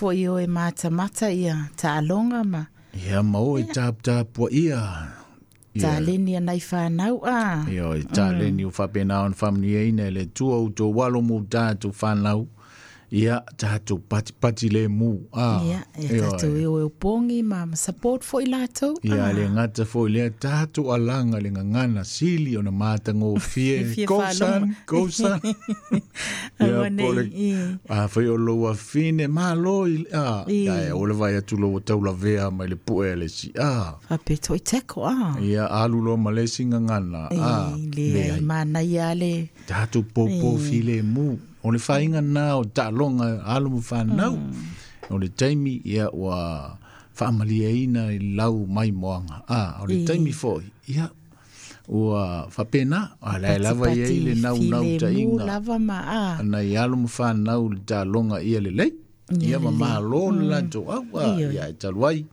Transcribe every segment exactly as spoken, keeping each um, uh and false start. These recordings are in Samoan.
foi o e matamata ia taaloga ma. Ia ma o e taputapua ia. Taleni anai whanau a. Ia o taleni o whapena on whamniaina le tua o tō walo mō tātou whanau. Ia tātou pati pati le mū. Ia, ia tātou e o e pongi ma support foi lātou. Ia le ngata foi lea tātou alanga le ngangana sili o na mātango fie. Go son, go son. Ia pole, a whai o loa fine, malo i, a, ia e ole vai atu loa taula vea mai le pue le si, a. Whape toi teko, a. Ia alu loa ma le si ngangana, a. Le mana ia le. Tātou popo file mū. O le whainga nā o taaloga alo ma whanau. O le taimi ia ua whaamalia ina i lau mai moanga. Ah, o le taimi foi, ia ua whapena, a lai lava ia i le nau nau ta inga. Lava ma a. Ana i alo ma whanau le taaloga ia le lei. Ia ma malo le lato au, ia e taluai.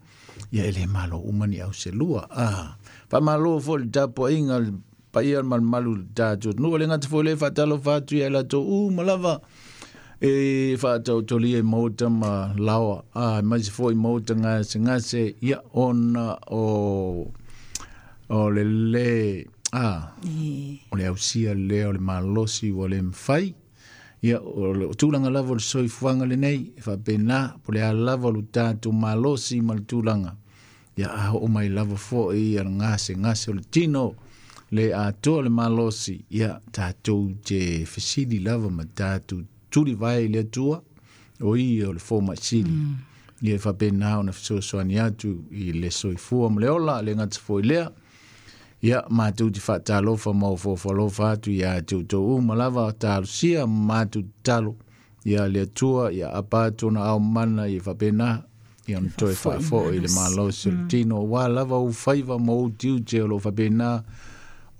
Ia ele malo umani au se lua. Ah, whamalo foi le tapo inga le paia malu malu tātou nu le ngata foi le fatalo fatu ia la to u malava e fatau toli e mota ma lawa a mai se foi mota ngase ngase ia ona o o le le a o le ausia le o le malosi o le mfai ia o le tulaga lava o le soifuaga lenei e faapena po le a lava o lo tatou malosi ma le tulaga ia a oo mai lava foʻi ia le gasegase o le tino le atoa le malosi ia tatou te fesili lava ma tatou tuli vai le Atua o ia o le fomaisili mm. Ia e faapena ona fesoasoani atu i le soifua ma le ola le gata foi lea ia matou te faatalofa ma ofoofolofa atu ia te outou uma lava talosia ma matou tatalo ia le Atua ia apa atu ona aomana ia faapena ia ona toe faafoʻi le malosi o le tino auā lava ou faiva ma ou tiute o loo faapena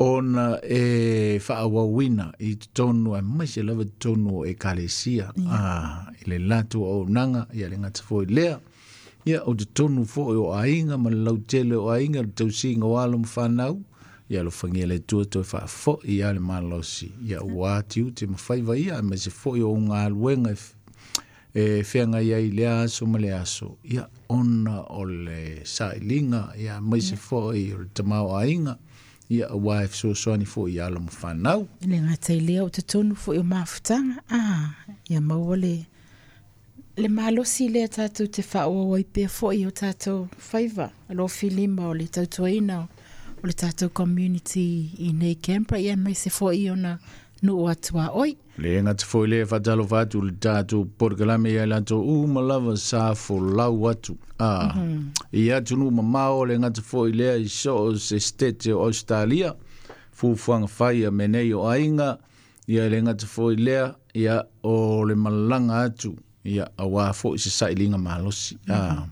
ona e whaawawina i tonu a mai se lava tonu o ekalesia a i le latu o nanga ia le ngata foi lea ia o te tonu foi o ainga ma le lautele o ainga le tausiga o alo ma whanau ia lo whangia le tua toi whaafo ia le malosi ia ua tiute ma faiva ia ma se foi o unga aluenga e whenga ia i le aso ma le aso ia ona o le sailiga ia mai se foi o le tamao ainga ia ua e fesoasoani foʻi ia alo ma fanau. Le gata i lea o totonu foʻi o mafutaga a ia maua le le malosi lea tatou te faaauau ai pea foʻi o tatou faiva alofilima o le tautuaina o le tatou community i nei Canberra ia aemaise foʻi ona nuu atu a oi. Le gata foi lea faatalofa atu le tatou polokalame ia latou uma lava sa folau atu a i atunuu mamao le gata foi lea i soo se state o Australia fuafuaga fai a menei o aiga ia le gata foi lea ia o le malaga atu ia auā foʻi se sailiga malosi a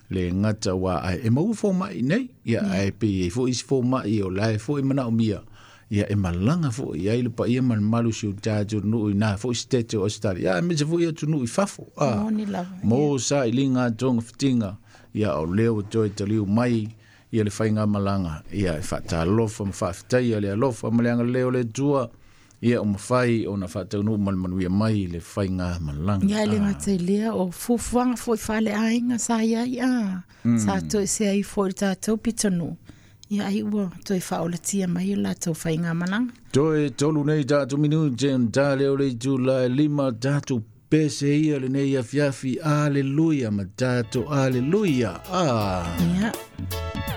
le gata ua e maua fomaʻi nei ia ae pei ai foʻi isi fomaʻi o lae foʻi manaʻomia ia e malaga foʻi ai le paia ma le malu si o tatou nuu i nā foʻi state o Australia ia aemaise foʻi atunuu i fafo a mo sailiga togafitiga ia o lea ua toe taliu mai ia le faiga malaga ia e faatalofa ma faafetaia le alofa ma le agalelei o le Atua ia o mafai ona faataunuu ma le manuia mai le faiga malaga. Ia le gata i lea o fuafuaga foʻi faaleaiga sa iai a sa toesea ai foʻi le tatou pitonuu ia ai ua toe faaolatia mai o latou faiga malaga. Toe tolu nei tatou minute ta lea o le itula e lima tatou pese ia lenei afiafi aleluia ma tatou aleluia. Ah. Ia.